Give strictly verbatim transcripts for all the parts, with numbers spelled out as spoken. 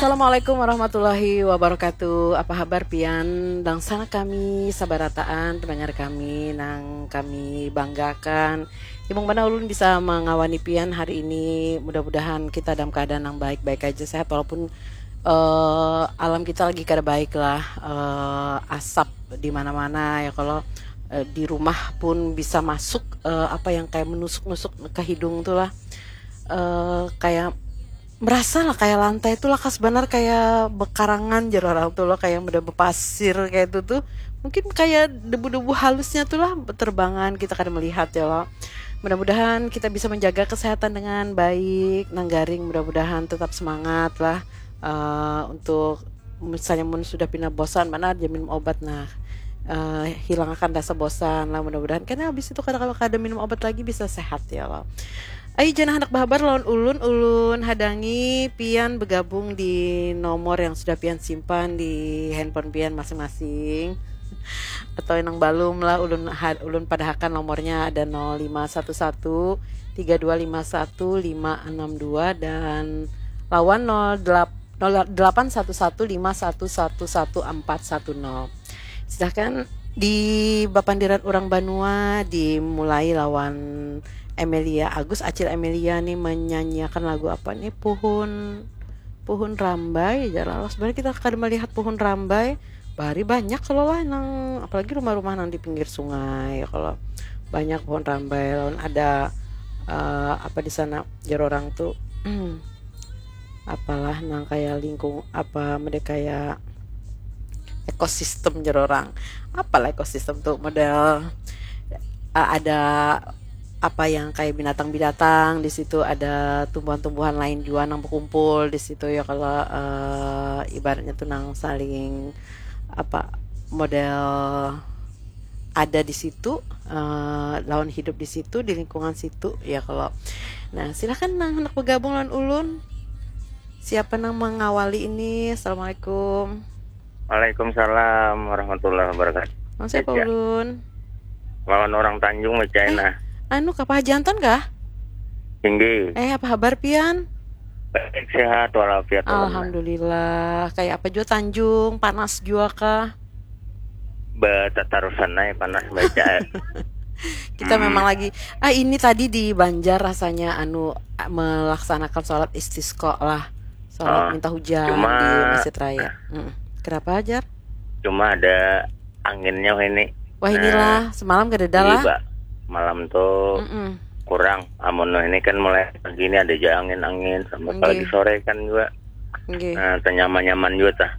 Assalamualaikum warahmatullahi wabarakatuh. Apa habar pian? Dangsana kami sabarataan pendengar kami nang kami banggakan. Imung banar ulun bisa mangawani pian hari ini. Mudah-mudahan kita dalam keadaan yang baik-baik aja, sehat, walaupun eh, alam kita lagi kada baik lah. Eh, asap di mana-mana ya, kalau eh, di rumah pun bisa masuk eh, apa yang kayak menusuk-nusuk ke hidung tuh lah. Eh, kayak merasa lah kayak lantai itu lakas banar kayak bekarangan, jar orang tuh loh, kayak udah bepasir kayak itu tuh. Mungkin kayak debu-debu halusnya tuh lah beterbangan, kita kada melihat ya loh. Mudah-mudahan kita bisa menjaga kesehatan dengan baik, nang garing mudah-mudahan tetap semangat lah. Eh, untuk misalnya mun sudah pina bosan, mana aja minum obat, nah eh, hilangakan rasa bosan lah mudah-mudahan, karena habis itu kada, kalau kada minum obat lagi bisa sehat ya loh. Ayo jangan hendak berhabar lawan ulun, ulun hadangi pian bergabung di nomor yang sudah pian simpan di handphone pian masing-masing. Atau yang balum lah, ulun ulun padahakan nomornya, ada nol lima satu satu tiga dua lima satu lima enam dua dan lawan nol delapan satu satu lima satu satu satu empat satu nol. Silahkan di bapandiran orang banua dimulai lawan Emelia Agus. Acil Emelia nih menyanyiakan lagu apa nih? Puhun Puhun Rambai aja lah. Sebenarnya kita kada melihat puhun rambai. Bari banyak kalau lah nang, apalagi rumah-rumah nang di pinggir sungai, kalau banyak pohon rambai lawan ada uh, apa di sana, jar orang tuh apalah nang kayak lingkung apa mede kayak ekosistem, jar orang. Apalah ekosistem tuh, model uh, ada apa yang kayak binatang-binatang di situ, ada tumbuhan-tumbuhan lain juga nang berkumpul di situ ya, kalau uh, ibaratnya tuh nang saling apa model ada di situ uh, lawan hidup di situ di lingkungan situ ya kalau. Nah, silahkan nang hendak bergabung lawan ulun. Siapa nang mengawali ini? Assalamualaikum. Waalaikumsalam warahmatullahi wabarakatuh. Nang siapa ulun? Lawan orang Tanjung, China. Eh, anu, kapa jantan kah? Tinggi. Eh, apa habar pian? Baik, sehat walafiat. Alhamdulillah. Kayak apa juga Tanjung? Panas juga kah? Betatarusan aja panas baca. Kita hmm. memang lagi ah ini tadi di Banjar rasanya anu melaksanakan sholat istisqa lah. Sholat oh, minta hujan cuma, di Masjid Raya. Mm. Kenapa, Jar? Cuma ada anginnya ini. Wah, inilah. Nah, semalam gak ada lah. Iya, malam tuh Mm-mm. kurang. Amun ini kan mulai pagi ini ada aja angin-angin sampai okay. Pagi sore kan juga. Okay. Nah, ternyaman-nyaman juga tah.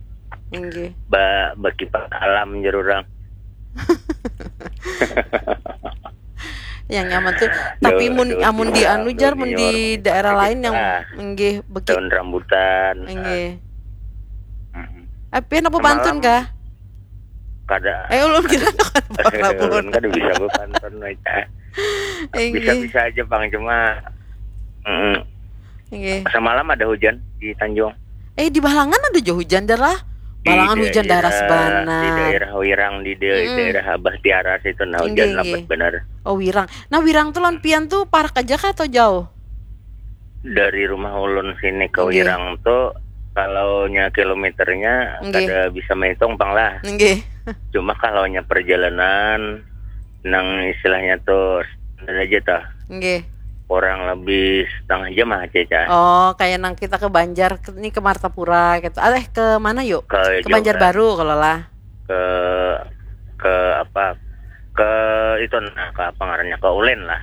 Okay. Ba berkipas alam, jar orang. Yang nyaman tuh, tapi mun amun di anu, Jar, mun di daerah lain yang nggih beki daun rambutan. Nggih. Tapi apa pantun kah? Kada. Eh, ulun kira kada pernah ulun kada bisa berpantun, Wita. Bisa-bisa aja, Bang, cuma mm, Nggih. Semalam ada hujan di Tanjung. Eh, di Balangan ada juga hujan, Jar lah. Balangan hujan daerah sebanar. Di daerah Wirang, di daerah Abah Tiara situ, nah, hujan lebat benar. Oh, Wirang. Nah, Wirang tuh lawan pian tuh parak aja kah atau jauh? Dari rumah ulun sini ke Wirang tuh, kalau nya kilometernya kada bisa menghitung, pang lah. Nggih. Cuma kalau nya perjalanan, nang istilahnya tuh standar aja tah. Nggih. Kurang lebih setengah jam lah, Ceca. Oh, kayak nang kita ke Banjar, ini ke Martapura gitu. Aleh ke mana yuk? Ke, ke Banjar Baru kalau lah. Ke ke apa? Ke itu nah, ke apa ngarannya? Ke Ulin lah.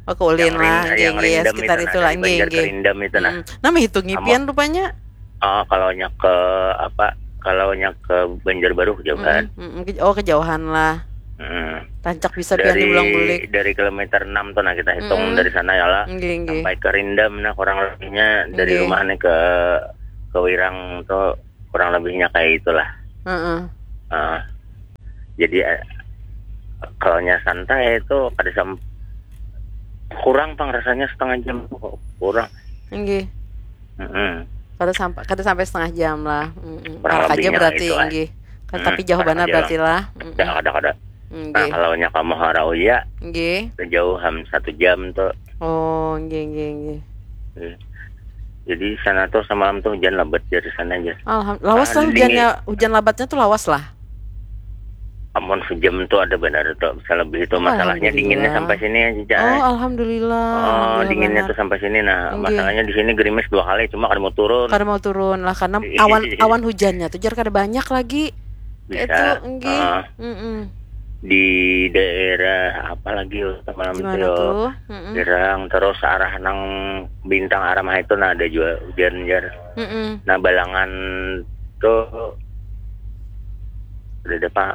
Oh, ke Ulin lah, nggih, nggih, sekitar itu lah, nggih, nggih. Kerindam itu nah. Hmm. Nah, menghitungi pian rupanya. Oh, kalau nya ke apa? Kalau nya ke Banjarbaru kejauhan. Mm, mm, oh, kejauhan lah. Hmm. Rancak bisa pian diulang bulik. Dari kilometer enam tuh nah kita hitung hmm. Dari sana ya lah. Nggih, nggih. Sampai ke Rindam nah kurang lebihnya dari nggih. Rumah nih ke ke Wirang tuh kurang lebihnya kayak itulah. Heeh. Uh, jadi eh, kalau nya santai itu kada sam kurang pang rasanya setengah jam tuh kurang. Nggih. Mm -hmm. Kada sampai kada sampai setengah jam lah. Mm -hmm. Kurang aja berarti itu, nggih. Kan, hmm, tapi jauh banget berarti lah. Kada, kada, kada. Nah, kalau nya kamu harau ya, nggih. Jauh ham satu jam tuh. Oh, nggih, nggih, nggih. Hmm. Jadi sana tuh semalam tuh hujan lebat dari sana aja. Alhamdulillah. Lawas lah hujannya, hujan lebatnya tuh lawas lah. Amun sejam tuh ada benar tuh, bisa lebih itu. Masalahnya dinginnya sampai sini ya, Cica. Oh, alhamdulillah. Oh, dinginnya tuh sampai sini. Nah, masalahnya di sini gerimis dua kali, cuma kada mau turun. Kada mau turun lah karena awan awan hujannya tuh jar kada banyak lagi. Bisa. Itu, enggih. Uh, mm -mm. Di daerah apa lagi semalam tuh? Girang, terus arah nang Bintang arah mah itu nah ada juga hujan jar. Mm -mm. Nah, Balangan tuh udah ada pak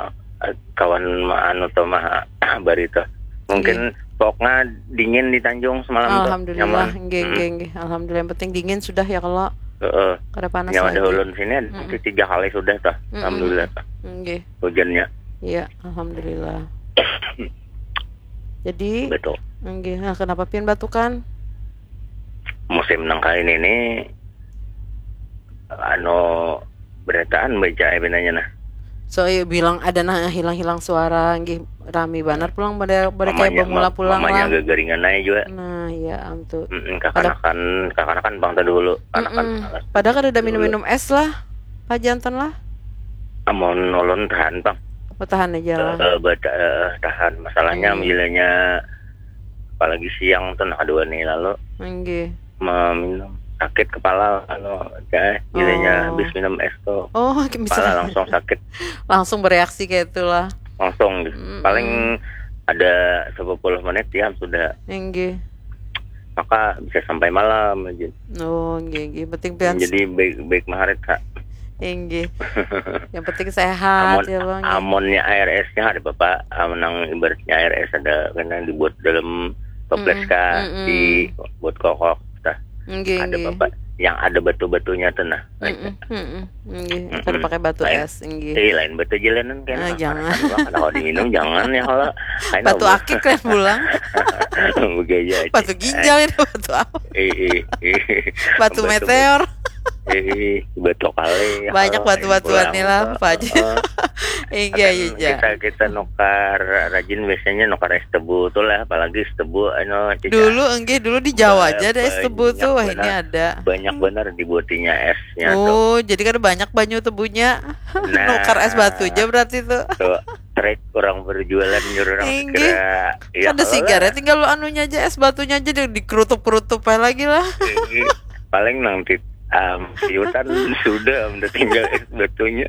kawan anu tuh mah bari tuh. Mungkin pokoknya dingin di Tanjung semalam tuh. Alhamdulillah, nggih, nggih, nggih. Alhamdulillah, yang penting dingin sudah ya kalau Heeh. Kada panas Yang ada lagi. Ulun sini ada tiga kali sudah tuh. Mm-mm. Alhamdulillah tuh. Nggih. Hujannya. Iya, alhamdulillah. Jadi, Betul. nggih, nah, kenapa pian batukan? Musim nang kain ini anu berataan baca pinanya nah. So, iya, bilang ada nah hilang-hilang suara, nggih, rami banar pulang pada pada kayak Mamanya- bemula mam- pulang mamanya lah. Gagaringan aja juga. Nah, iya, am tuh. Mm-mm, kakanakan kakanakan bang tadi dulu. Kanakan Mm-mm. Padahal kada ada minum-minum es lah, Pak Jantan lah. Amun ulun tahan bang. Oh, tahan aja lah. Eh, bata- eh, tahan masalahnya Hmm. bilanya apalagi siang tuh nah dua nih lalu Nggih. meminum sakit kepala anu eh, bilanya Oh. Habis minum es tuh Oh, kepala bisa Langsung sakit langsung bereaksi kayak itulah. Langsung gitu. Mm-mm. Paling ada sepuluh menit ya sudah Nggih. Maka bisa sampai malam aja. Oh, nggih, nggih. Penting pian Jadi baik baik maharit kak. Nggih. Yang penting sehat Amun ya lo. Nggih. Amunnya air esnya ada bapak. Amun nang ibaratnya air es ada kena dibuat dalam toples Mm-mm, kah mm-mm. Dibuat kokok tah. Nggih, Ada nggih. bapak yang ada batu-batunya tuh nah. Mm-mm, mm-mm. Nggih, Mm-mm. kada pakai batu Lain. es, nggih. Eh lain batu jalanan kan. Ah, Nah, jangan. Kan, kan, kalau diminum jangan ya kalau. Kain Batu apa? Akik kan pulang. Begaya aja. Batu ginjal itu batu apa? Eh, eh, eh. Batu meteor. Eh, batu kali. Banyak Kalau batu-batuan kain nih lah, pulang, Pak Haji. eh, Iya, kan iya. kita kita nukar rajin biasanya nukar es tebu tuh lah, apalagi es tebu anu Cica. Dulu enggih dulu di Jawa aja ada es tebu Banyak tuh. Wah, ini benar. Ada. Banyak benar dibuatinya esnya tuh. Oh, jadi kan banyak banyu tebunya. Nah. Nukar es batu aja berarti tuh. Tuh, trek orang berjualan nyuruh orang Inggih. segera. Ya, Ada kalau sigaret tinggal anunya aja es batunya aja di- dikerutup-kerutup aja lagi lah. Inggih. Paling nang tit um, piutan sudah udah tinggal es batunya.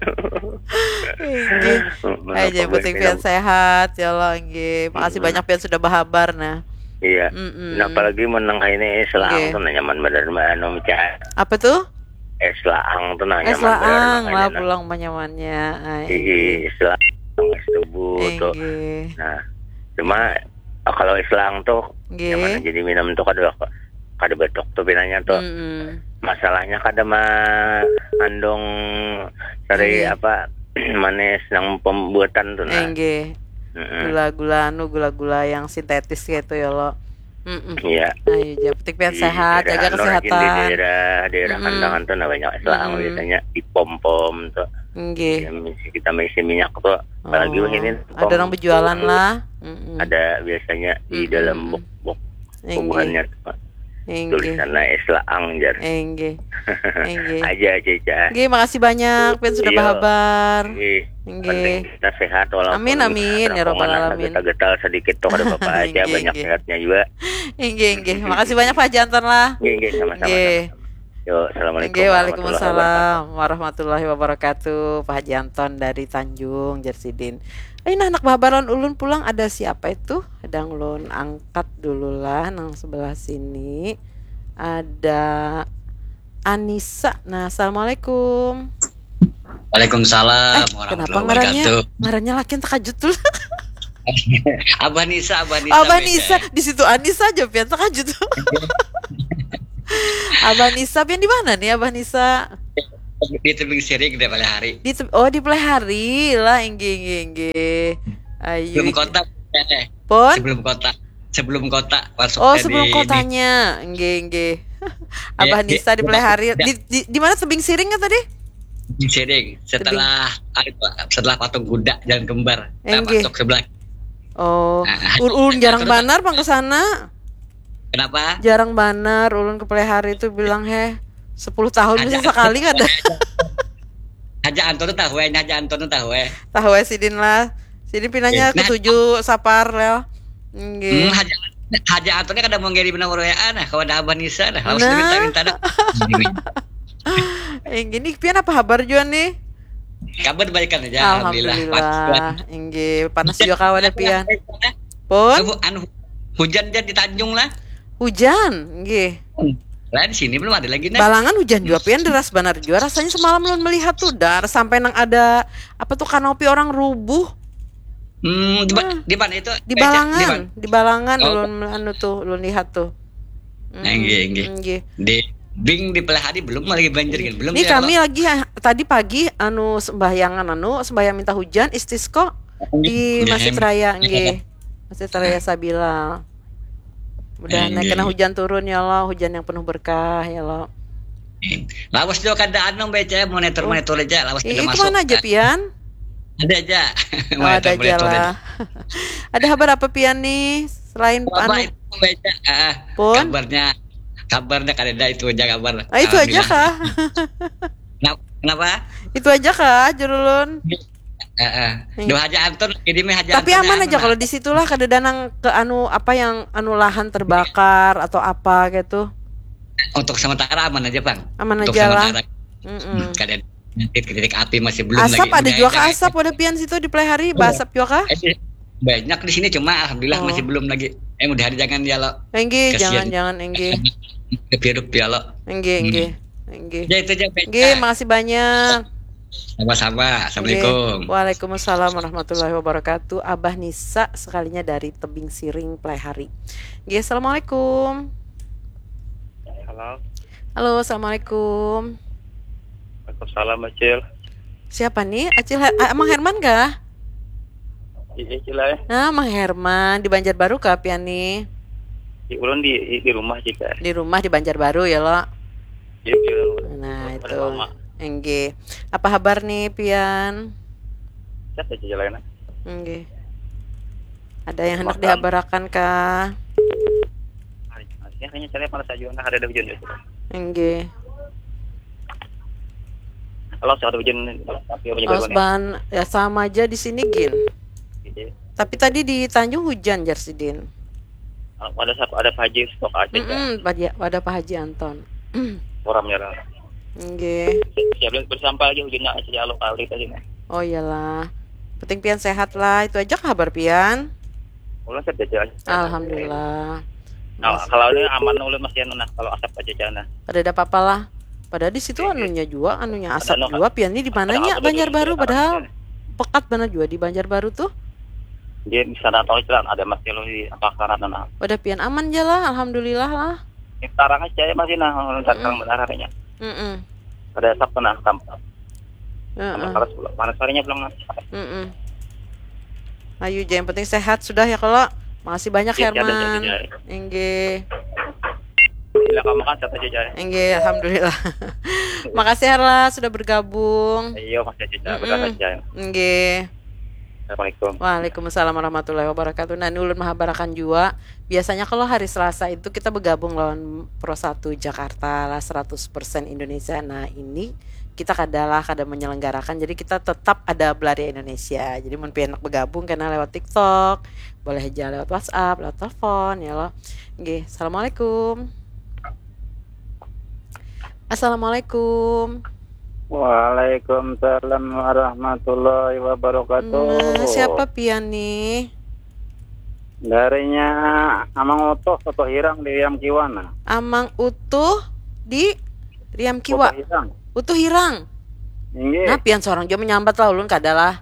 Inggih. Mana Aja pembuat penting minum. Pian sehat ya Allah, nggih. Makasih Mm-mm. Banyak Pian sudah berhabar nah. Iya. Mm-mm. Nah, apalagi menang ini selang Nggih. Tuh nah, nyaman bener anu Ca. Apa tuh? Es laang tuh nah Es nyaman bener laang nang lah ini, nah. Pulang penyamannya. Ai. Iya, es laang es tebu tuh. Inggih. Nah, cuma oh, kalau es laang tuh Nggih. Nyaman jadi minum tuh kada kada batuk tuh pinanya tuh. Mm-mm. Masalahnya kada mengandung dari Iya. Apa manis yang pembuatan tuh nah. Enggih. Mm-mm. Gula-gula anu gula-gula yang sintetis gitu ya lo. Mm-mm. Iya. Ayo, yang penting pian Di sehat, daerah jaga anu rajin di kesehatan. daerah daerah Mm-mm. Kandangan tuh nah banyak es laang Mm-mm. biasanya dipom-pom tuh. Nggih. Yang isi- kita mengisi minyak tuh. Apalagi Oh, wah ini ada orang berjualan lah. Mm-mm. Ada biasanya di Mm-mm. Dalam bok-bok Inggih. Bubuhannya tuh, Pak. Inggih. Tulisannya es laang jar. Inggih. Inggih. Aja Cica. Inggih, makasih banyak Pian sudah Iya. Berhabar. Inggih. Inggih. Penting kita sehat walaupun Amin, amin, ya rabbal rombongan alamin. Getal-getal sedikit tuh kada apa-apa aja Inggih, banyak inggih. Sehatnya juga. Inggih, inggih. Makasih banyak Pak Jantan lah. Inggih, inggih, sama-sama. Inggih. Yo, assalamualaikum. Inggih, waalaikumsalam warahmatullahi wabarakatuh. Pak Haji Anton dari Tanjung, jar sidin. Eh, nah, anak babaran ulun pulang ada siapa itu? Sedang ulun angkat dulu lah, nang sebelah sini. Ada Anissa. Nah, assalamualaikum. Waalaikumsalam Eh, kenapa ngarannya ngarannya lakian terkajut tuh? Abah Nisa, Abah Nisa. Abah Nisa, di situ Anissa aja pian terkajut tuh. Abah Nisa pian di mana nih Abah Nisa? Di Tebing Siring deh pada hari. Di te- oh di Pelihari lah, inggih inggih inggih. Ayo. Belum kota. Eh, Pun? Sebelum kota. Sebelum kota masuk. Oh, sebelum di, kotanya. Inggih inggih. Abah ya, Nisa di Pelihari. Ya. Di, di, di mana Tebing Siring kan tadi? Tebing Siring. Setelah setelah patung kuda Jalan Kembar. Nah, masuk sebelah. Oh, nah, ulun jarang banar pang ke sana. Kenapa? Jarang banar ulun ke Pelihari itu bilang, "Heh, Sepuluh tahun bisa sekali kada. Haja Anton tuh tahu eh, Haja Anton tuh tahu eh. Tahu eh sidin lah. Sidin pinanya eh, nah, ketujuh sapar lah. Nggih. Hmm, Haja Haja Anton kada mau ngiri nomor W A nah, kalau ada Abah Nisa nah. Lawas nah. Minta minta dah. Inggih, nih pian apa kabar jua nih? Kabar baikan aja alhamdulillah. Alhamdulillah. Inggih, panas juga kawan ya pian. Pun anu hujan aja di Tanjung lah. Hujan, nggih. Lah di sini belum ada lagi nah. Balangan hujan juga pian deras banar juga rasanya semalam lun melihat tuh dar sampai nang ada apa tuh kanopi orang rubuh. Hmm, di, di mana itu? Di Balangan, di, di Balangan oh. Ulun anu tuh, ulun lihat tuh. Nah, nggih, nggih. Di Bing di Pelahari belum lagi banjir kan? Belum. Ini ya, kami kalau... lagi tadi pagi anu sembahyangan anu sembahyang minta hujan istisqa di Masjid Raya nggih. Masjid Raya Sabila. Mudah naik kena hujan turun ya Allah, hujan yang penuh berkah ya Allah. Lawas juga kada anu baca monitor monitor aja lawas kada masuk. Itu mana aja pian? Ada aja. Oh, ada aja lah. Ada kabar apa pian nih selain anu? Baca, ah, pun kabarnya kabarnya kada ada itu aja kabar. Ah, itu aja kah? Kenapa? Itu aja kah jurulun? Heeh. Dua aja Anton, ini mah aja. Tapi aman aja kalau di situlah kada danang ke anu apa yang anu lahan terbakar atau apa gitu. Untuk sementara aman aja, Bang. Aman aja lah. Kada titik-titik api masih belum asap lagi. Asap ada juga kah asap pada pian situ di Pelahari, basap juga kah? Banyak di sini cuma alhamdulillah oh. Masih belum lagi. Eh mudah jangan ya lo. Enggih, jangan jangan enggih. Hirup ya lo. Enggih, enggih. Enggih. Ya itu aja. Enggih, makasih banyak. Sama-sama. Assalamualaikum. Waalaikumsalam warahmatullahi wabarakatuh. Abah Nisa sekalinya dari Tebing Siring Pelahari. Enggih, assalamualaikum. Halo. Halo, assalamualaikum. Waalaikumsalam Acil. Siapa nih? Acil Her Amang Herman kah? Iya Acil eh. Nah, Mang Herman di Banjarbaru kah pian nih? Di ulun di di rumah jika. Di rumah di Banjarbaru ya lo. Iya iya. Nah, itu. Enggih. Apa kabar nih pian? Siapa aja lainnya? Enggih. Ada yang hendak dihabarakan kah? Ini kayaknya saya panas aja nah ada hujan itu. Enggih. Kalau saya ada hujan tapi apa juga Osban ya sama aja di sini gin. Tapi tadi di Tanjung hujan jar sidin. Ada ada Pak Haji stok aja. Mm -mm, pada pada Pak Haji Anton. Orang ya. Enggih. Ya bersampah aja hujannya aja lo kali tadi nah. Oh iyalah. Penting pian sehat lah. Itu aja kabar pian. Ulun sehat aja. Alhamdulillah. Nah, kalau ini aman ulun masih anu nah kalau asap aja jangan nah. Ada ada apa-apa lah. Padahal di situ anunya juga, anunya asap juga pian ini di mananya Banjarbaru padahal pekat banget juga di Banjarbaru tuh. Dia di sana tahu jalan ada masih lo di apa karena nah. Udah pian aman aja lah, alhamdulillah lah. Sekarang aja ya masih nah datang benar harinya. Mm -mm. Ada asap nah tampak. Heeh. Panas panas harinya pulang. Mm -mm. Ayu, yang penting sehat sudah ya kalau. Makasih banyak Herman. Inggih. Bila kamu kan siapa aja. Inggih, alhamdulillah. Makasih Herla sudah bergabung. Iya, makasih aja. Berangkat aja. Inggih. Assalamualaikum. Waalaikumsalam warahmatullahi wabarakatuh. Nah, ini ulun mahabarakan juga. Biasanya kalau hari Selasa itu kita bergabung lawan Pro satu Jakarta lah seratus persen Indonesia. Nah, ini kita kadalah kada menyelenggarakan. Jadi kita tetap ada Belaria Indonesia. Jadi mun pian bergabung kena lewat TikTok, boleh aja lewat WhatsApp, lewat telepon ya lo. Nggih, assalamualaikum. Assalamualaikum. Waalaikumsalam warahmatullahi wabarakatuh. Nah, siapa pian nih? Darinya Amang Utuh, Utuh Hirang di Riam Kiwa nah. Amang Utuh di Riam Kiwa. Utuh Hirang. Utuh Hirang. Inggih. Nah, pian seorang juga menyambat lah ulun kada lah.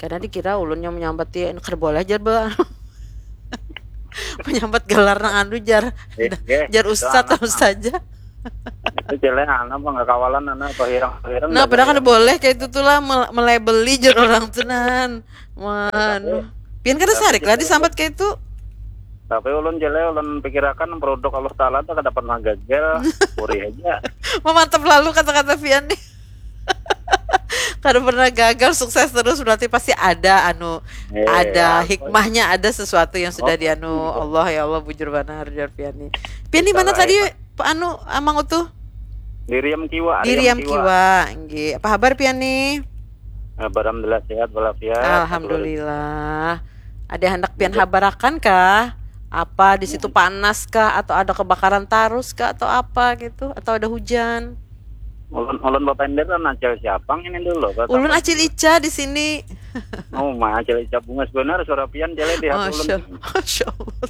Karena dikira ulun yang menyambat ya, kada boleh aja ba. Menyambat gelar nang anu jar. Jar ustad atau saja. Itu jelek anak mah nggak kawalan anak atau hirang hirang. Nah, padahal kada boleh kayak itu tuh lah melabeli jar orang tuh nan. Manu. Pian kada sarik lah disambat kayak itu. Tapi ulun jelek ulun pikirakan produk Allah Taala tuh kada pernah gagal, puri aja. Memantap lalu kata-kata Pian nih. Kada pernah gagal, sukses terus berarti pasti ada anu eh, ada ya, hikmahnya, ada sesuatu yang sudah oh, dianu Allah ya Allah bujur banar jar Pian nih. Pian di mana tadi anu Amang Utuh? Di Riam Kiwa. Di Riam Kiwa. Nggih. Apa habar pian nih? Alhamdulillah sehat walafiat. Alhamdulillah. Ada handak pian habarakan kah? Apa di situ panas kah atau ada kebakaran tarus kah atau apa gitu atau ada hujan? Ulun ulun bapenderan acil siapa ini dulu. Ulun acil Ica di sini. Oh, ma acil Ica bungas benar suara pian cele di hati ulun. Masya Allah.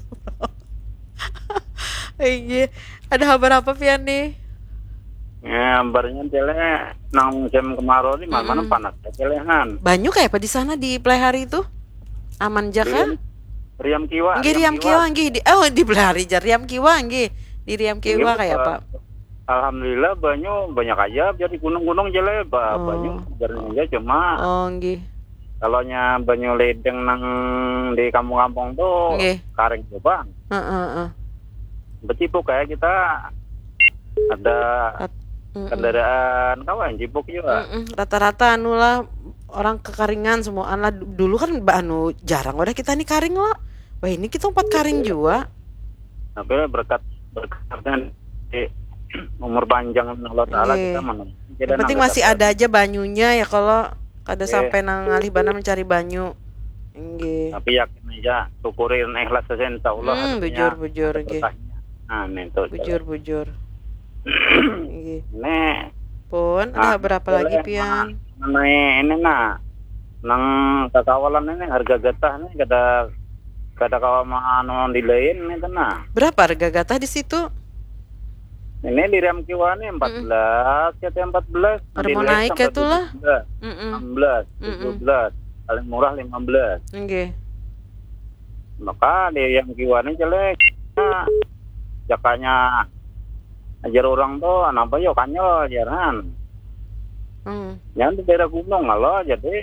Iya. Ada habar apa pian nih? Ya, habarnya cele nang musim kemarau ni mana panas cele han. Banyu kayak apa di sana di Pelihari itu? Aman ja kah? Riam Kiwa. Nggih Riam Kiwa nggih di oh di Pelihari jar Riam Kiwa nggih. Di Riam Kiwa kayak apa? Alhamdulillah banyu banyak aja biar di gunung-gunung cele ba, banyu biar aja cuma Oh nggih. Kalau nya banyu ledeng nang di kampung-kampung tuh Nggih. Karing tuh bang. Heeh, heeh. Becipuk kayak kita ada Mm-mm. Kendaraan kawan cipuk juga. Mm-mm. Rata-rata anu lah orang kekaringan semuaan lah. Du- Dulu kan ba- anu jarang udah kita nih karing lah. Wah ini kita empat karing juga. Tapi berkat berkat di umur panjang Allah Taala Nggih. Kita mana. Yang penting masih ada aja banyunya ya kalau kada sampai nang ngalih banar mencari banyu. Nggih. Tapi yakin aja syukuri dan ikhlas saja insya Allah. Hmm, Artinya bujur, bujur, ada nggih. Berkahnya. Nah, ini tuh. Bujur, bujur. Nggih. Ini Pun ada Nah, berapa lagi boleh, pian? Mengenai ini nah, nang kakawalan ini harga getah nih kada kada kawa anu di lain nih nah. Berapa harga gatah di situ? Ini di Riam Kiwa nih empat belas kata empat belas. Ada mau naik ya tuh lah. Mm-mm. Enam belas, Mm-mm. tujuh belas, paling murah lima belas. Nggih. Maka di Riam Kiwa nih jelek. Nah, jakanya ajar orang tuh kenapa yo kanyol jaran. Hmm. Yang di daerah gunung kalau jadi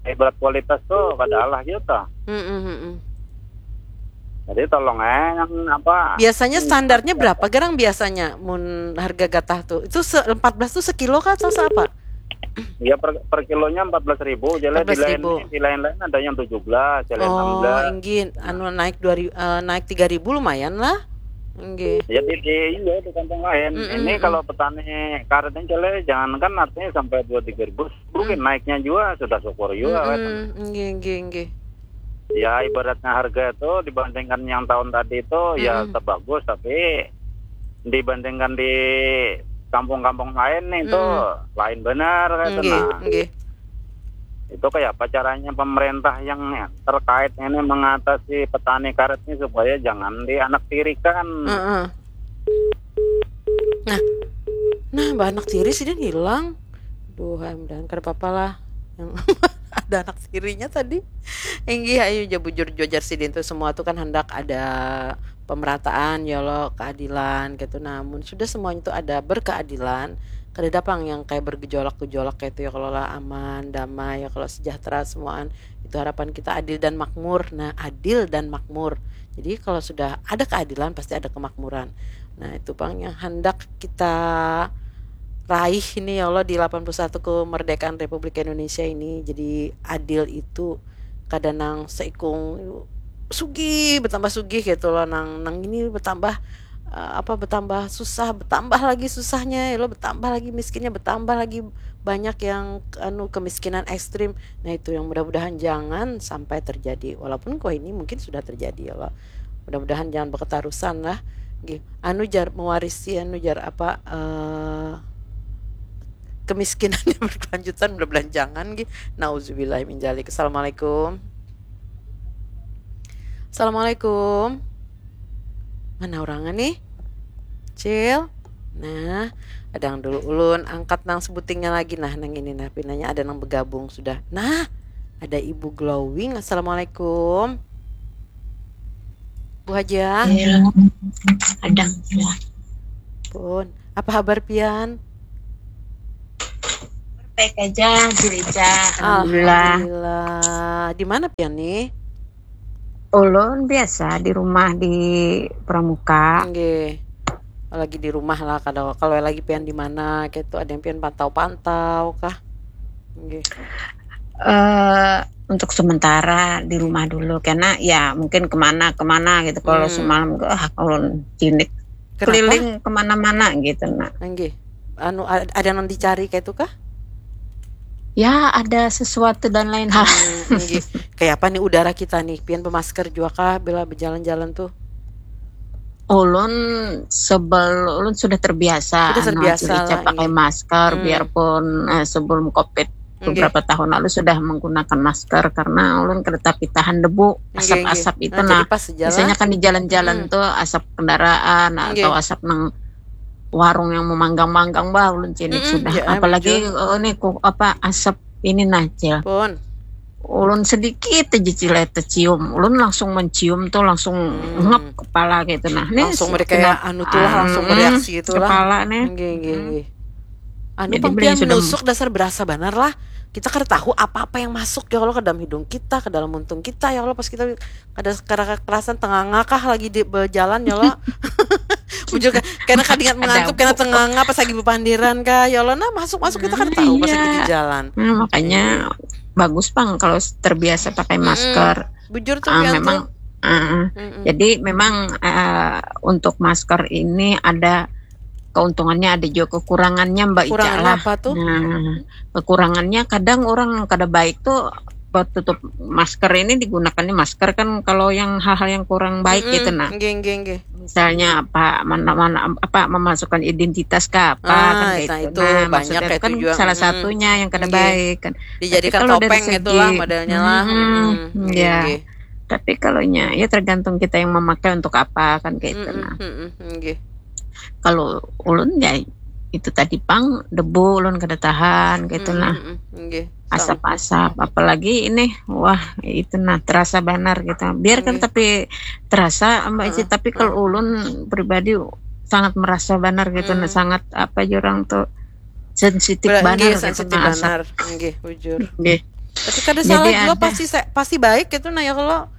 ibarat kualitas tuh kada alah gitu. Mm-mm, mm-mm. Jadi tolong eh yang apa? Biasanya standarnya berapa garang biasanya mun harga gatah tuh? Itu se- empat belas tuh sekilo kah atau seapa? Ya per, per kilonya empat belas ribu jadi di lain Empat belas ribu. Di lain-lain ada yang tujuh belas, ada yang enam Oh, belas. Inggih, anu naik dua ribu, eh, naik tiga ribu lumayan lah. Inggih. Jadi di iya di kampung lain. Mm-mm. Ini kalau petani karet ini cele jangankan artinya sampai dua tiga ribu, mungkin naiknya juga sudah syukur juga kan. Mm-mm, Inggih, inggih, inggih. Ya ibaratnya harga itu dibandingkan yang tahun tadi itu ya Mm-mm. tetap bagus tapi dibandingkan di kampung-kampung lain nih itu lain benar kayak itu Inggih, nah. inggih. Itu kayak apa caranya pemerintah yang terkait ini mengatasi petani karet ini supaya jangan dianaktirikan. Heeh. Nah, nah, bah anak tiri sidin hilang. Duh, mudahan kada apa-apa lah. Yang ada anak tirinya tadi. Inggih, ayo ja bujur juajar sidin tuh semua tuh kan hendak ada pemerataan ya lo keadilan gitu. Namun sudah semuanya tuh ada berkeadilan. Kada ada pang yang kayak bergejolak-gejolak kayak itu ya kalau lah aman, damai ya kalau sejahtera semuaan. Itu harapan kita adil dan makmur. Nah, adil dan makmur. Jadi kalau sudah ada keadilan pasti ada kemakmuran. Nah, itu pang yang hendak kita raih ini ya Allah di delapan puluh satu kemerdekaan Republik Indonesia ini. Jadi adil itu kada nang seikung sugih bertambah sugih gitu loh nang nang ini bertambah eh, apa bertambah susah bertambah lagi susahnya ya Allah bertambah lagi miskinnya bertambah lagi banyak yang anu kemiskinan ekstrim nah itu yang mudah-mudahan jangan sampai terjadi walaupun kok ini mungkin sudah terjadi ya Allah mudah-mudahan jangan berketarusan lah Nggih. Anu jar mewarisi anu jar apa eh kemiskinan yang berkelanjutan mudah-mudahan jangan nggih. Nauzubillah min dzalik. Assalamualaikum. Assalamualaikum. Mana orangnya nih? Cil. Nah, ada yang dulu ulun angkat nang sebutingnya lagi nah nang ini nah pinanya ada nang bergabung sudah. Nah, ada Ibu Glowing. Assalamualaikum. Bu Haja. Ada. Pun. Apa habar pian? Baik aja, Juleja. Alhamdulillah. Alhamdulillah. Di mana pian nih? Ulun biasa di rumah di Pramuka. Nggih. Lagi di rumah lah kalau kalau lagi pian di mana gitu ada yang pian pantau-pantau kah? Nggih. Eh untuk sementara di rumah dulu karena ya mungkin kemana kemana gitu kalau hmm. Semalam ke ah ulun cinik keliling kemana-mana gitu nak. Nggih. anu, ad- ada yang dicari kayak itu kah? Ya, ada sesuatu dan lain hal. Hmm, nggih. Kayak apa nih udara kita nih? Pian bemasker juga kah bila berjalan-jalan tuh? Ulun sebel ulun sudah terbiasa Sudah anu, terbiasa Acil Ica lah, pakai iya. masker Hmm. Biarpun eh, sebelum covid Nggih. Beberapa tahun lalu sudah menggunakan masker karena ulun kada tapi tahan debu, Nggih, asap-asap nggih. Itu Nah, nah. Jadi pas sejalan. Biasanya kan di jalan-jalan Mm-mm. Tuh asap kendaraan Nggih. Atau asap nang warung yang memanggang-manggang, bah, ulun cilik Mm-mm, sudah. J M, Apalagi jujur. Oh, ini ku apa, asap ini nah, Cil. Pun. Ulun sedikit aja, Cil, eh, tercium. Ulun langsung mencium tuh langsung Hmm. Ngep kepala gitu nah. Nih Langsung si- mereka kayak kena- anu tuh lah, langsung Mm-mm, mereaksi gitu lah. Kepala nih. Nggih, nggih, Hmm. nggih. Anu Jadi pang beliau pian sudah menusuk dasar berasa banar lah. Kita kada tahu apa-apa yang masuk ya Allah ke dalam hidung kita, ke dalam muntung kita ya Allah, pas kita kada kada kerasan tenganga kah lagi di berjalan ya Allah. Bujur kan, karena kada ingat mengantuk, Ada karena bu- tenganga pas lagi bepandiran kah ya Allah. Nah, masuk-masuk kita kada Ah, tahu pas iya. lagi di jalan. Nah, makanya bagus pang kalau terbiasa pakai Mm-mm. masker. Bujur tuh Ah, pian memang tuh. ah, ah. Mm-mm. Jadi memang eh, untuk masker ini ada keuntungannya, ada juga kekurangannya, Mbak Ica Kekurangannya lah. Apa tuh? Nah, kekurangannya kadang orang kada baik tuh buat tutup masker ini digunakannya masker kan kalau yang hal-hal yang kurang baik Mm-mm. Gitu nah. Nggih, nggih, nggih. Misalnya apa mana mana apa memasukkan identitas ke apa kan Ah, kayak nah itu. itu Nah, banyak maksudnya kayak itu kan itu juga. Salah Mm-mm. satunya yang kada Nggih. baik kan. Tapi Dijadikan kalau dari topeng itulah segi modelnya lah. Mm-mm, Mm-mm. Nggih, ya. nggih. Tapi kalau nya ya tergantung kita yang memakai untuk apa kan kayak itu Mm-mm, nah. mm-mm, nggih. Kalau ulun ya itu tadi pang debu ulun kada tahan gitu Mm-mm, nah. mm-mm, nggih. Sama. Asap-asap apalagi ini wah itu nah terasa banar gitu. Biar kan Nggih. Tapi terasa Mbak Ici Heeh, tapi kalau heeh. Ulun pribadi sangat merasa banar gitu nah Hmm. Sangat apa jurang tuh sensitif Ber- banar nggih, gitu sensitif nah asap. Banar. Nggih, bujur. Nggih. Tapi kada Jadi salah juga ada pasti sa- pasti baik gitu nah ya kalau.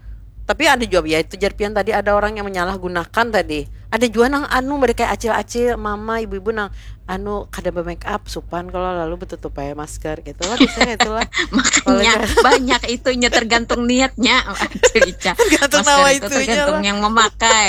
Tapi ada juga ya itu jar pian tadi ada orang yang menyalahgunakan tadi. Ada juga nang anu mereka kayak acil-acil, mama, ibu-ibu nang anu kada be-make up, supan kalau lalu betutup aja masker gitu lah biasanya itulah. Makanya Kalau- banyak itunya tergantung niatnya. Aduh, Ica. Tergantung Masker nama itu itunya tergantung lah. Yang memakai.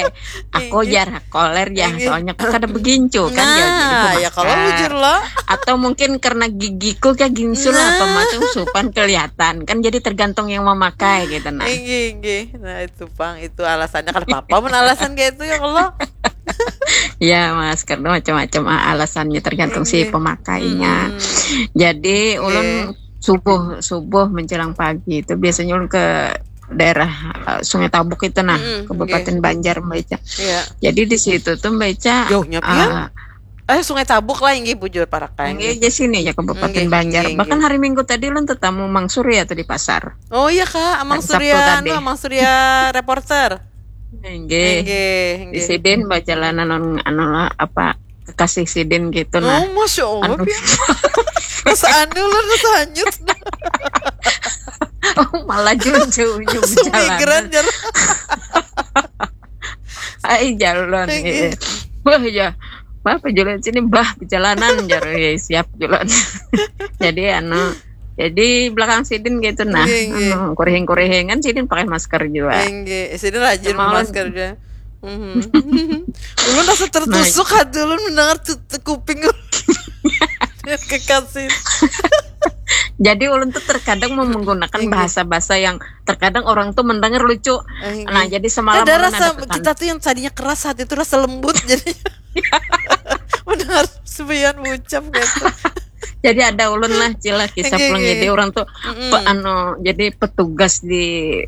Aku Iya. Jar koler ya, Iya. Soalnya kan kada begincu kan ya, jadi Nah, ya kalau memakai. Bujur lah. Atau mungkin karena gigiku kayak gincu lah apa Nah. Macam supan kelihatan kan, jadi tergantung yang memakai gitu nah. Inggih, inggih. Nah, itu pang, itu alasannya kada apa-apa mun alasan kayak itu ya kalau. Ya masker tuh macam-macam ah, alasannya tergantung si Inggih. Pemakainya. Mm-mm. Jadi ulun Inggih. Subuh subuh menjelang pagi itu biasanya ulun ke daerah uh, Sungai Tabuk itu nah, Mm-mm, Kabupaten inggih. Banjar, Mbak Ica. Iya. Jadi di situ tuh Mbak Ica Jauhnya pian? uh, Eh, Sungai Tabuk lah, inggih, Bujur, Parakai, Inggih inggih. Aja sini ya Kabupaten Inggih, Banjar. inggih, Bahkan inggih. Hari Minggu tadi ulun tetamu Mang Surya tuh di pasar. Oh iya, Kak, Amang Hari Sabtu Surya, tadi. Anu, Amang Surya reporter. Inggih. Inggih, Di inggih. Sidin bajalan anu, anu lah, apa kekasih Sidin gitu nah. Oh, Masya Allah, Anu. Pian. Rasa anu lah, rasa hanyut. Oh, malah jauh-jauh Langsung migran, jalan. Jar. Ai jalan. Inggih. Eh. Wah ya. Apa jalan sini bah perjalanan jar. Ya, siap jalan. Jadi anu jadi belakang Sidin gitu nah. Inggih, inggih. Anu, kurihing-kurihingan Sidin pakai masker juga. Inggih, Sidin rajin Cuma ulun- masker aja. Mhm. Ulun rasa tertusuk hati ulun mendengar tu, tu kuping. Kekasih. Jadi ulun tuh terkadang mau menggunakan Inggih. Bahasa-bahasa yang terkadang orang tuh mendengar lucu. Inggih. Nah, jadi semalam Ada ulun rasa ada ke kita tuh yang tadinya keras hati itu rasa lembut jadi. Mendengar sepian ucap gitu. Jadi ada ulun lah Cil lah kisah Inggih, pulang inggih. Jadi orang tuh Mm-mm. pe- anu jadi petugas di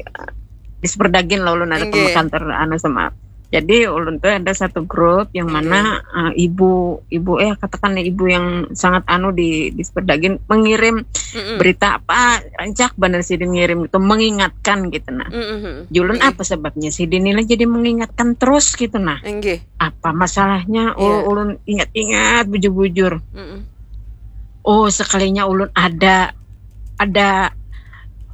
di Superdagin lah ulun ada Inggih. Kantor anu sama. Jadi ulun tuh ada satu grup yang Inggih. Mana uh, ibu ibu eh katakan ibu yang sangat anu di di Superdagin mengirim Mm-mm. Berita apa rancak bener Sidin ngirim itu mengingatkan gitu nah. Mm-mm. Julun Inggih. Apa sebabnya Sidin ini jadi mengingatkan terus gitu nah. Inggih. Apa masalahnya? Oh, Iya. Ulun ingat-ingat bujur-bujur. Mm-mm. Oh, sekalinya ulun ada ada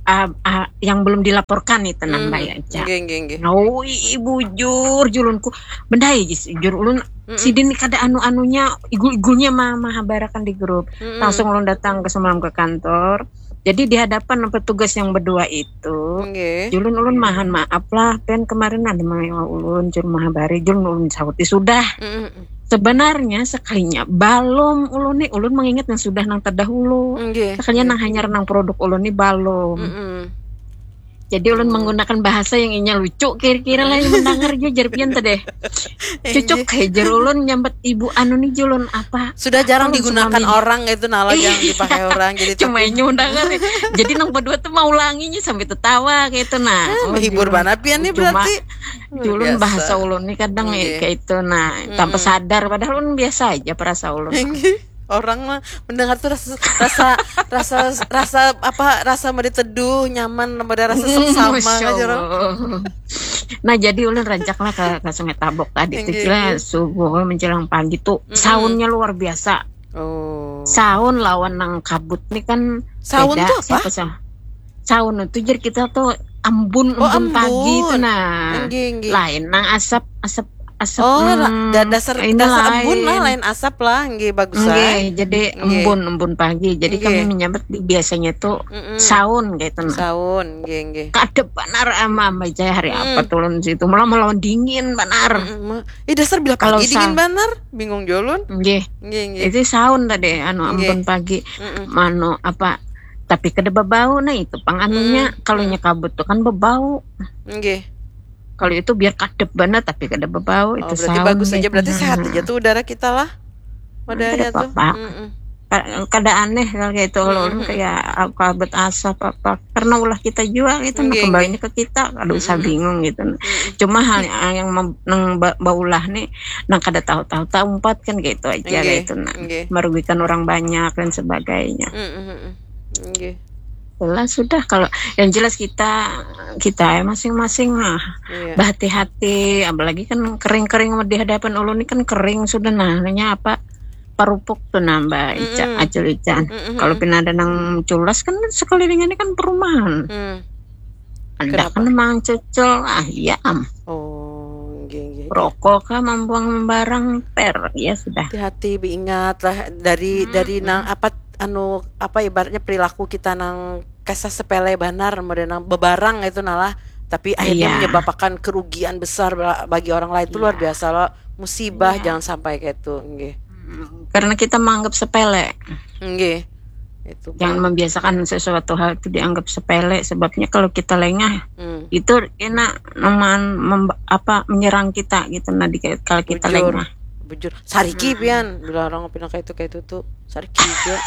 uh, uh, yang belum dilaporkan itu nah Mbak Ica. Inggih, inggih, inggih. Oh, i- bujur julunku. Bendai jis jur ulun Mm-mm. Sidin ni kada anu-anunya igul-igulnya ma mahabarakan di grup. Mm-mm. Langsung ulun datang ke semalam ke kantor. Jadi di hadapan petugas yang berdua itu, Inggih. Julun ulun mahan maaf lah, pen kemarin ada mengewa ulun, jur mahabari, julun ulun sauti sudah. Mm-mm. Sebenarnya sekalinya balum ulun nih, ulun mengingat yang sudah nang terdahulu. Sekalinya nang hanyar nang produk ulun nih balum. Jadi ulun menggunakan bahasa yang inya lucu kira-kira lah yang mendengar jua jar pian teh deh. Cucuk kayak jar ulun nyambat ibu anu nih julun apa? Sudah jarang digunakan orang itu nala jangan dipakai orang jadi cuma inya mendengar. Jadi nang berdua tuh mau ulanginya sampai tertawa kayak itu nah. Menghibur banget pian nih berarti. Julun bahasa ulun nih kadang kayak itu nah tanpa sadar padahal ulun biasa aja perasa ulun. Orang mah mendengar tuh rasa rasa rasa rasa apa rasa mau diteduh nyaman ada rasa seksama aja loh. Nah jadi ulun rancak lah ke, ke Sungai Tabok tadi tuh kira subuh menjelang pagi tuh soundnya luar biasa. Oh. Sound lawan nang kabut nih kan sound beda. Tuh apa? Siapa sih? Sound itu jadi kita tuh embun embun oh, pagi itu nah. Enggih, enggih. Lain nang asap asap asap. Oh, hmm, dasar dasar embun lah lain asap lah, enggih bagus. Enggih, jadi embun embun pagi. Jadi enggih. Kami menyambut biasanya tuh mm -mm. Sound gitu nah. Sound, enggih enggih. Kadep banar ama ama jaya hari mm. Apa turun situ malah melawan dingin banar. Mm -mm. Eh dasar bila pagi dingin banar, bingung jolun. Enggih. Enggih enggih. Itu sound tadi anu embun pagi. Mm -mm. Mano apa tapi kada bebau nah itu pang anunya mm. Kalau mm. Nyekabut tuh kan bebau. Enggih. Kalau itu biar kadep banget tapi kada bebau oh, itu berarti bagus aja berarti sehat aja tuh udara kita lah. Modalnya tuh. Mm -mm. Kada aneh kalau kayak itu kalau mm -hmm. Kayak kabut asap apa karena ulah kita juga gitu okay. Nah, kembalinya ke kita aduh mm -hmm. Usah bingung gitu mm -hmm. Cuma hal yang nang baulah nih nang kada tahu-tahu tak umpat kan gitu aja okay. Gitu nah okay. Merugikan orang banyak dan sebagainya mm -hmm. Okay. Jelas sudah kalau yang jelas kita kita ya masing-masing lah iya. Berhati-hati apalagi kan kering-kering di hadapan ulun ini kan kering sudah nah namanya apa parupuk tuh nambah ica mm -mm. Acul ica mm -mm. Kalau pina ada nang culas kan sekeliling ini kan perumahan mm. Ada kan mang cecel ah iya am oh geng, geng. Rokok kah membuang barang per ya sudah hati-hati ingat lah dari hmm. Dari nang apa anu apa ibaratnya perilaku kita nang kasa sepele banar model nang bebarang itu nalah tapi akhirnya iya. Menyebabkan kerugian besar bagi orang lain itu iya. Luar biasa loh musibah iya. Jangan sampai kayak itu nggih. Hmm, karena kita menganggap sepele nggih. Itu jangan membiasakan sesuatu hal itu dianggap sepele sebabnya kalau kita lengah hmm. Itu enak neman apa menyerang kita gitu nah di, kalau kita bujur. Lengah bujur sariki hmm. Pian bila orang pindah kayak itu kayak itu tuh sariki juga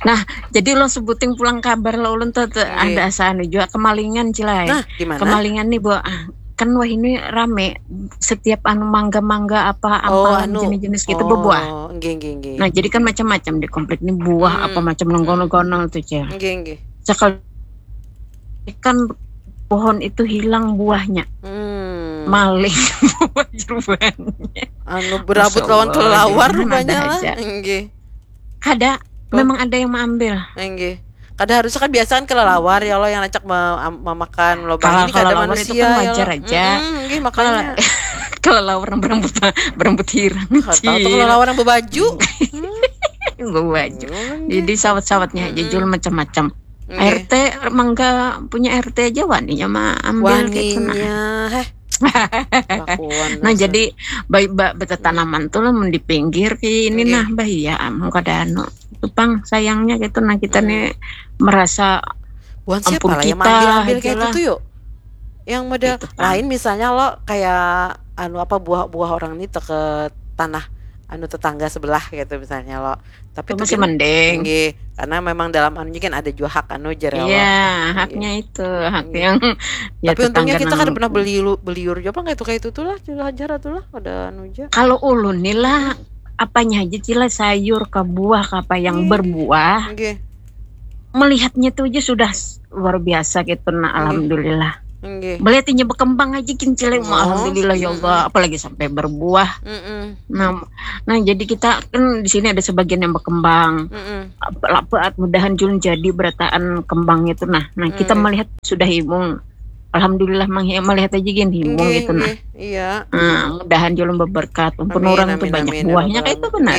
nah jadi lo sebuting pulang kabar lo ulun tuh, tuh ada asa anu juga kemalingan cilai nah, kemalingan nih bu ah, kan wah ini rame setiap anu mangga-mangga apa oh, ampalan anu. Jenis-jenis gitu oh, berbuah. Enggih, enggih, enggih. Nah, jadi kan macam-macam di komplek ini buah hmm. Apa macam nonggonol-gonol tuh, Cil. Enggih, enggih. Sekali kan pohon itu hilang buahnya. Hmm. Maling buah jeruannya. Anu berabut lawan kelelawar rupanya lah. Enggih. Ada memang ada yang mengambil. Enggih. Kada harusnya kan biasa kan kelelawar ya Allah yang rancak memakan lobang ini kada manusia kan wajar ya aja. Mm, makanya. Kelelawar yang berambut berambut hirang. Tahu tuh kelelawar yang berbaju. Berbaju. Jadi sawat-sawatnya aja jual macam-macam. Okay. R T mangga punya R T aja waninya mah ambil waninya. Gitu, nah. Heh. Nah jadi baik ba, betetanaman tuh lah di pinggir kayak ini okay. Nah bahaya am kada anu tupang sayangnya gitu nah kita hmm. Nih merasa bukan siapa lah yang ambil ambil kayak gitu tuh yuk yang model gitu, lain misalnya lo kayak anu apa buah-buah orang nih ke tanah anu tetangga sebelah gitu misalnya lo tapi itu masih mending nggih, karena memang dalam anunya kan ada juga hak anu jar iya haknya itu hak yang ya, tapi untungnya kita kan pernah beli beliur juga apa kayak itu kayak itu tuh lah jar tuh lah ada anu aja kalau ulun nih lah apanya aja cila sayur ke buah ke apa yang hmm. Berbuah okay. Melihatnya tuh aja sudah luar biasa gitu nah okay. Alhamdulillah okay. Melihatnya berkembang aja kincilnya oh. Alhamdulillah ya Allah hmm. Apalagi sampai berbuah mm -mm. Nah nah jadi kita kan di sini ada sebagian yang berkembang mm -mm. Apa mudahan Jun jadi berataan kembang itu nah nah mm. Kita melihat sudah imung Alhamdulillah melihat aja gini himung gitu nah. Iya. Nah, mudahan julung berberkat. Ampun orang tuh banyak buahnya kayak itu benar.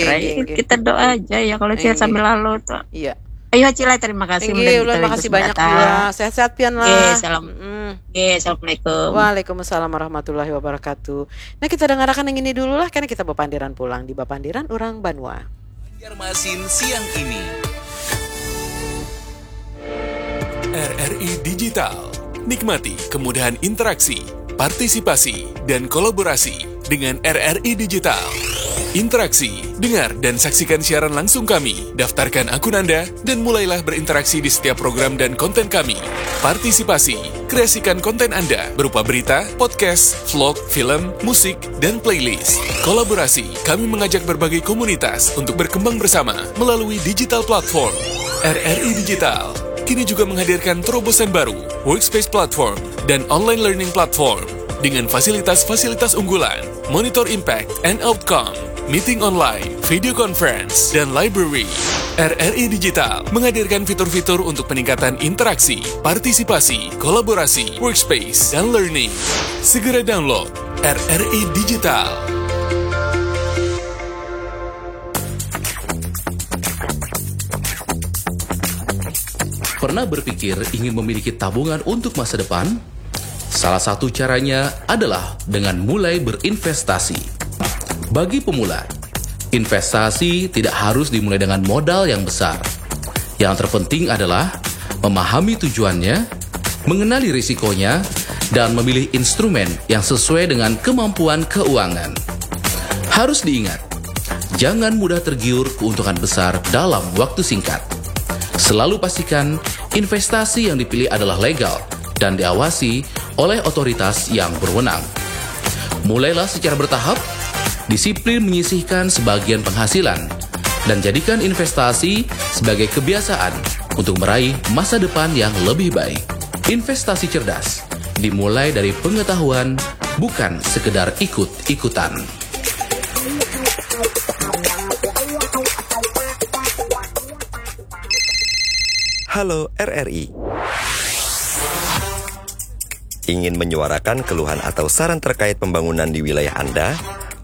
Kita doa aja ya kalau saya sambil lalu tuh. Iya. Ayo Acil, terima kasih. Inggih, ulun makasih banyak jua. Sehat-sehat pian lah. Oke, salam. Mm-mm. Oke, assalamualaikum. Waalaikumsalam warahmatullahi wabarakatuh. Nah, kita dengarkan yang ini dulu lah, karena kita bapandiran pulang di Bapandiran Urang Banua. Banjarmasin siang ini. R R I Digital. Nikmati kemudahan interaksi, partisipasi, dan kolaborasi dengan R R I Digital. Interaksi, dengar dan saksikan siaran langsung kami. Daftarkan akun Anda dan mulailah berinteraksi di setiap program dan konten kami. Partisipasi, kreasikan konten Anda berupa berita, podcast, vlog, film, musik, dan playlist. Kolaborasi, kami mengajak berbagai komunitas untuk berkembang bersama melalui digital platform. R R I Digital kini juga menghadirkan terobosan baru, Workspace Platform, dan Online Learning Platform dengan fasilitas-fasilitas unggulan, monitor impact and outcome, meeting online, video conference, dan library. R R I Digital menghadirkan fitur-fitur untuk peningkatan interaksi, partisipasi, kolaborasi, workspace, dan learning. Segera download R R I Digital. Pernah berpikir ingin memiliki tabungan untuk masa depan? Salah satu caranya adalah dengan mulai berinvestasi. Bagi pemula, investasi tidak harus dimulai dengan modal yang besar. Yang terpenting adalah memahami tujuannya, mengenali risikonya, dan memilih instrumen yang sesuai dengan kemampuan keuangan. Harus diingat, jangan mudah tergiur keuntungan besar dalam waktu singkat. Selalu pastikan investasi yang dipilih adalah legal dan diawasi oleh otoritas yang berwenang. Mulailah secara bertahap, disiplin menyisihkan sebagian penghasilan, dan jadikan investasi sebagai kebiasaan untuk meraih masa depan yang lebih baik. Investasi cerdas dimulai dari pengetahuan, bukan sekedar ikut-ikutan. Halo R R I. Ingin menyuarakan keluhan atau saran terkait pembangunan di wilayah Anda?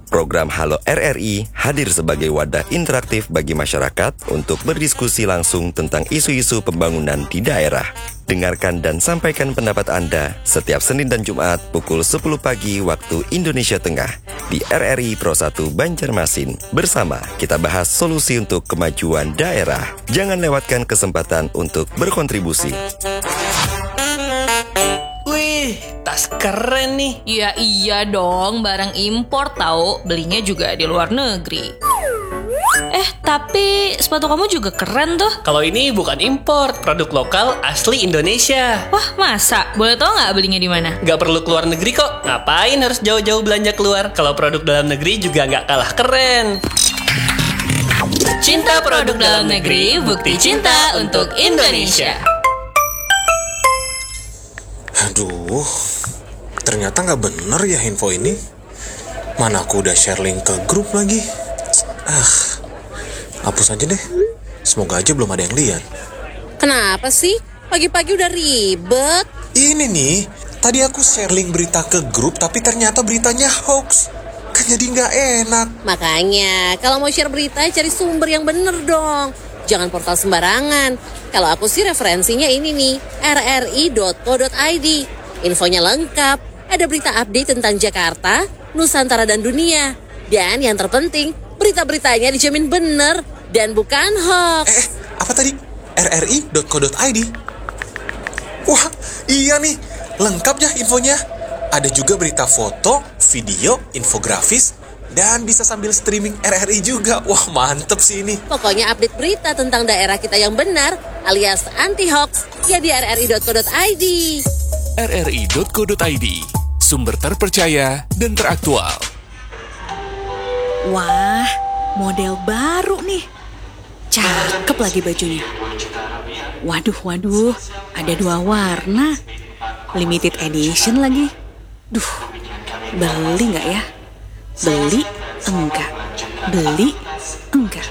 Program Halo R R I hadir sebagai wadah interaktif bagi masyarakat untuk berdiskusi langsung tentang isu-isu pembangunan di daerah. Dengarkan dan sampaikan pendapat Anda setiap Senin dan Jumat pukul sepuluh pagi waktu Indonesia Tengah di R R I Pro satu Banjarmasin. Bersama, kita bahas solusi untuk kemajuan daerah. Jangan lewatkan kesempatan untuk berkontribusi. Wih, tas keren nih. Ya iya dong, barang impor tahu, belinya juga di luar negeri. Eh, tapi sepatu kamu juga keren tuh. Kalau ini bukan impor, produk lokal asli Indonesia. Wah, masa? Boleh tahu nggak belinya di mana? Nggak perlu keluar negeri kok. Ngapain harus jauh-jauh belanja keluar? Kalau produk dalam negeri juga nggak kalah keren. Cinta produk dalam negeri, bukti cinta untuk Indonesia. Aduh, ternyata nggak bener ya info ini. Mana aku udah share link ke grup lagi. Ah, hapus aja deh. Semoga aja belum ada yang lihat. Kenapa sih? Pagi-pagi udah ribet. Ini nih, tadi aku share link berita ke grup tapi ternyata beritanya hoax. Kan jadi nggak enak. Makanya, kalau mau share berita cari sumber yang bener dong. Jangan portal sembarangan. Kalau aku sih referensinya ini nih, R R I dot co dot I D. Infonya lengkap. Ada berita update tentang Jakarta, Nusantara dan dunia. Dan yang terpenting, berita-beritanya dijamin bener dan bukan hoax. Eh, eh, apa tadi? R R I dot co dot I D. Wah, iya nih. Lengkap ya infonya. Ada juga berita foto, video, infografis, dan bisa sambil streaming R R I juga. Wah, mantep sih ini. Pokoknya update berita tentang daerah kita yang benar alias anti hoax ya di R R I dot co dot I D. R R I dot co dot I D, sumber terpercaya dan teraktual. Wah, model baru nih. Cakep lagi bajunya. Waduh, waduh, ada dua warna. Limited edition lagi. Duh, beli nggak ya? Beli enggak. Beli enggak.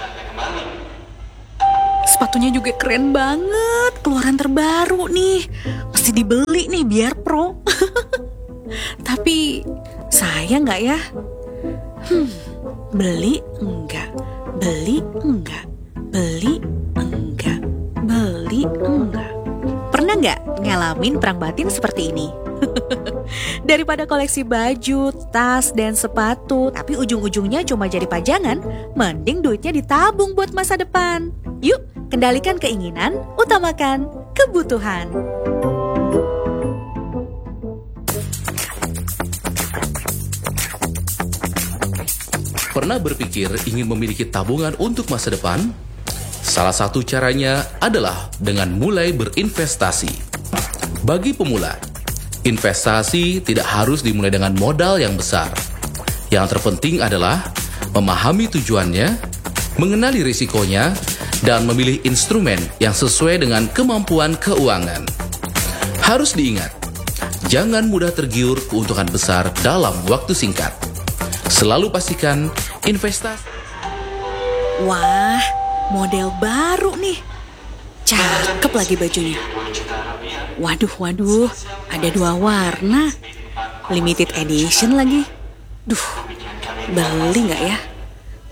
Sepatunya juga keren banget, keluaran terbaru nih. Mesti dibeli nih biar pro. Tapi saya nggak ya? Hmm, beli enggak, beli enggak, beli enggak, Enggak. Pernah nggak ngalamin perang batin seperti ini? Daripada koleksi baju, tas, dan sepatu, tapi ujung-ujungnya cuma jadi pajangan, mending duitnya ditabung buat masa depan. Yuk, kendalikan keinginan, utamakan kebutuhan. Pernah berpikir ingin memiliki tabungan untuk masa depan? Salah satu caranya adalah dengan mulai berinvestasi. Bagi pemula, investasi tidak harus dimulai dengan modal yang besar. Yang terpenting adalah memahami tujuannya, mengenali risikonya, dan memilih instrumen yang sesuai dengan kemampuan keuangan. Harus diingat, jangan mudah tergiur keuntungan besar dalam waktu singkat. Selalu pastikan investasi Wah, model baru nih. Cakep lagi bajunya. Waduh, waduh, ada dua warna. Limited edition lagi. Duh, beli nggak ya?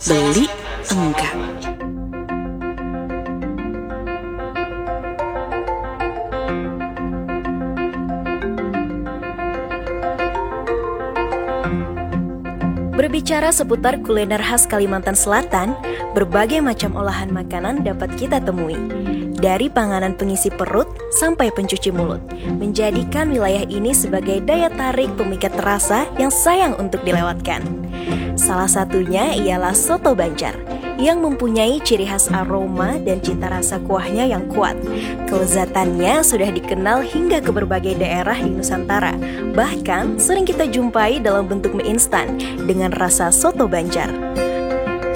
Beli enggak. Berbicara seputar kuliner khas Kalimantan Selatan, berbagai macam olahan makanan dapat kita temui. Dari panganan pengisi perut sampai pencuci mulut, menjadikan wilayah ini sebagai daya tarik pemikat rasa yang sayang untuk dilewatkan. Salah satunya ialah soto Banjar yang mempunyai ciri khas aroma dan cita rasa kuahnya yang kuat. Kelezatannya sudah dikenal hingga ke berbagai daerah di Nusantara. Bahkan sering kita jumpai dalam bentuk mie instan dengan rasa soto Banjar.